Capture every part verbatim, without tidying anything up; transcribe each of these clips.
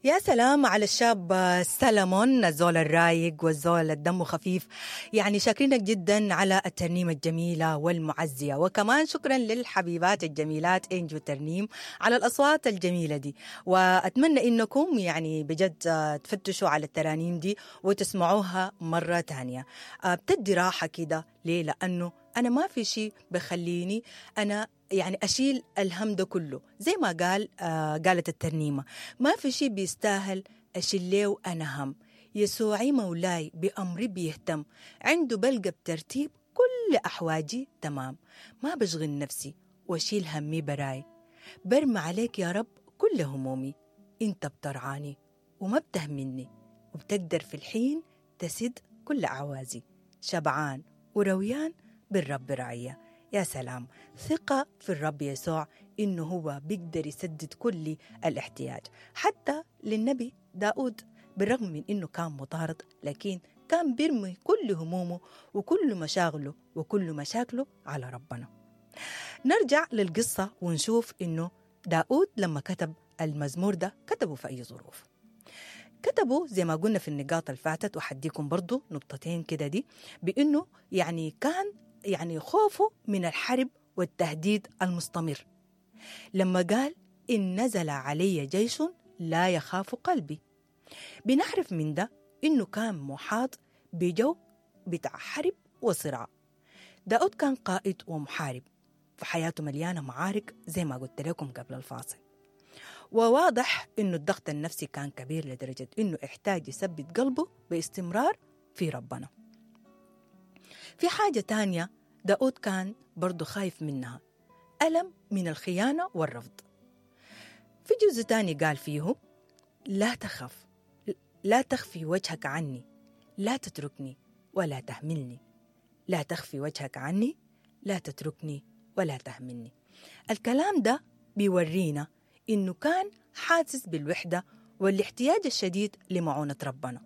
يا سلام على الشاب سلمون، الزول الرايق والزول الدم خفيف. يعني شاكرينك جدا على الترنيمة الجميلة والمعزية، وكمان شكرا للحبيبات الجميلات إنجو ترنيم على الأصوات الجميلة دي. وأتمنى إنكم يعني بجد تفتشوا على الترانيم دي وتسمعوها مرة تانية، بتدي راحة كده. ليه؟ لأنه أنا ما في شيء بخليني أنا يعني أشيل الهم ده كله، زي ما قال آه قالت الترنيمة، ما في شيء بيستاهل أشيل ليه أنا هم، يسوعي مولاي بأمري بيهتم، عنده بلقى بترتيب كل أحواجي تمام، ما بشغل نفسي وأشيل همي براي، برمي عليك يا رب كل همومي، انت بترعاني وما بتهمني، وبتقدر في الحين تسد كل أعوازي، شبعان ورويان بالرب رعية. يا سلام، ثقة في الرب يسوع إنه هو بيقدر يسدد كل الاحتياج. حتى للنبي داود بالرغم من إنه كان مطارد، لكن كان بيرمي كل همومه وكل مشاغله وكل مشاكله على ربنا. نرجع للقصة ونشوف إنه داود لما كتب المزمور ده كتبه في أي ظروف. كتبوا زي ما قلنا في النقاط الفاتت، وحديكم برضو نقطتين كده دي، بإنه يعني كان يعني خوفه من الحرب والتهديد المستمر. لما قال إن نزل علي جيش لا يخاف قلبي، بنعرف من ده إنه كان محاط بجو بتاع حرب وصراع. داود كان قائد ومحارب، فحياته مليانة معارك زي ما قلت لكم قبل الفاصل. وواضح إنه الضغط النفسي كان كبير لدرجة إنه احتاج يثبت قلبه باستمرار في ربنا. في حاجة تانية داود كان برضو خايف منها، ألم من الخيانة والرفض. في جزء تاني قال فيه لا تخف، لا تخفي وجهك عني، لا تتركني ولا تهملني، لا تخفي وجهك عني، لا تتركني ولا تهملني. الكلام ده بيورينا إنه كان حاسس بالوحدة والاحتياج الشديد لمعونة ربنا.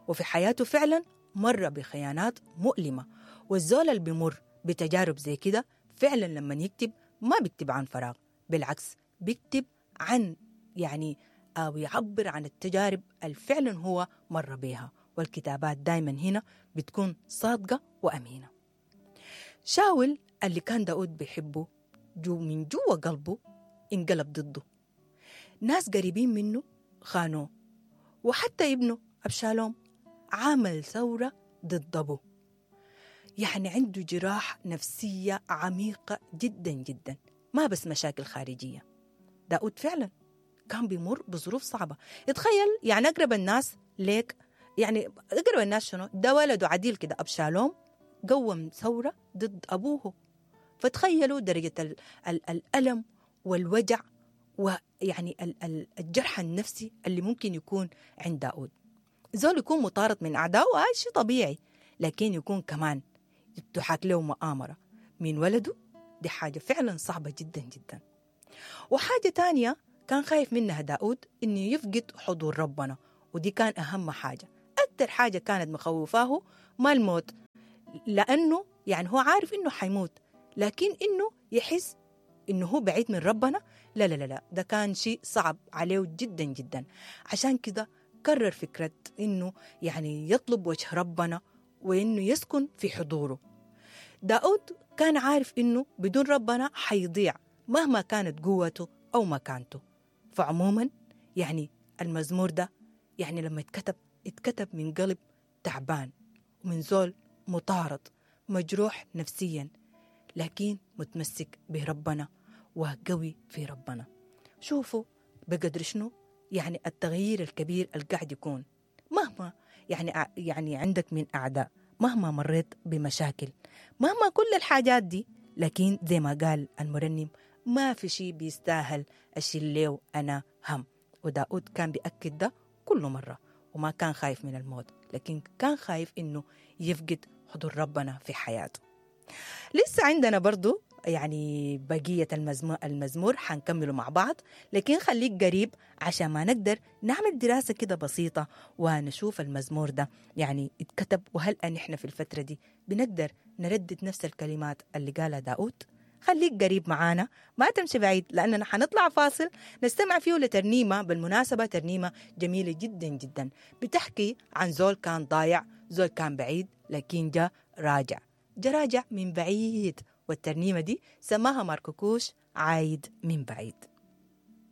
وفي حياته فعلا مر بخيانات مؤلمة، والزول اللي بيمر بتجارب زي كده فعلا لما يكتب ما بيكتب عن فراغ، بالعكس بيكتب عن يعني أو يعبر عن التجارب اللي فعلا هو مر بيها. والكتابات دايما هنا بتكون صادقة وأمينة. شاول اللي كان داود بيحبه جو من جوا قلبه انقلب ضده، ناس قريبين منه خانوه، وحتى ابنه أبشالوم عمل ثورة ضد أبوه. يعني عنده جراح نفسية عميقة جدا جدا، ما بس مشاكل خارجية. داود فعلا كان بيمر بظروف صعبة. اتخيل يعني أقرب الناس ليك، يعني أقرب الناس شنو؟ ده ولده عديل كده أبشالوم قوم ثورة ضد أبوه. فتخيلوا درجة ال ال الألم والوجع ويعني الجرح النفسي اللي ممكن يكون عند داود. زول يكون مطارد من أعدائه هذا شيء طبيعي، لكن يكون كمان تحاك له مؤامرة من ولده، دي حاجة فعلا صعبة جدا جدا. وحاجة تانية كان خايف منها داود إنه يفقد حضور ربنا، ودي كان أهم حاجة. أكتر حاجة كانت مخوفاه ما الموت، لأنه يعني هو عارف إنه حيموت، لكن إنه يحس إنه هو بعيد من ربنا، لا لا لا لا، ده كان شيء صعب عليه جدا جدا. عشان كده كرر فكرة إنه يعني يطلب وجه ربنا وإنه يسكن في حضوره. داود كان عارف إنه بدون ربنا حيضيع مهما كانت قوته أو مكانته. فعموما يعني المزمور ده يعني لما اتكتب اتكتب من قلب تعبان ومن زول مطارد مجروح نفسيا، لكن متمسك بربنا وقوي في ربنا. شوفوا بقدر شنو يعني التغيير الكبير اللي قاعد يكون، مهما يعني يعني عندك من أعداء، مهما مريت بمشاكل، مهما كل الحاجات دي، لكن زي ما قال المرنم ما في شيء بيستاهل أشيل له أنا هم. وداود كان بيأكد ده كل مرة، وما كان خايف من الموت، لكن كان خايف إنه يفقد حضور ربنا في حياته. لسه عندنا برضو يعني بقية المزمور حنكمله مع بعض، لكن خليك قريب عشان ما نقدر نعمل دراسة كده بسيطة ونشوف المزمور ده يعني اتكتب، وهل أن احنا في الفترة دي بنقدر نردد نفس الكلمات اللي قالها داود. خليك قريب معانا، ما تمشي بعيد، لأننا حنطلع فاصل نستمع فيه لترنيمة، بالمناسبة ترنيمة جميلة جدا جدا، بتحكي عن زول كان ضايع، زول كان بعيد، لكن جا راجع، جا راجع من بعيد. والترنيمة دي سماها ماركوكوش عايد من بعيد.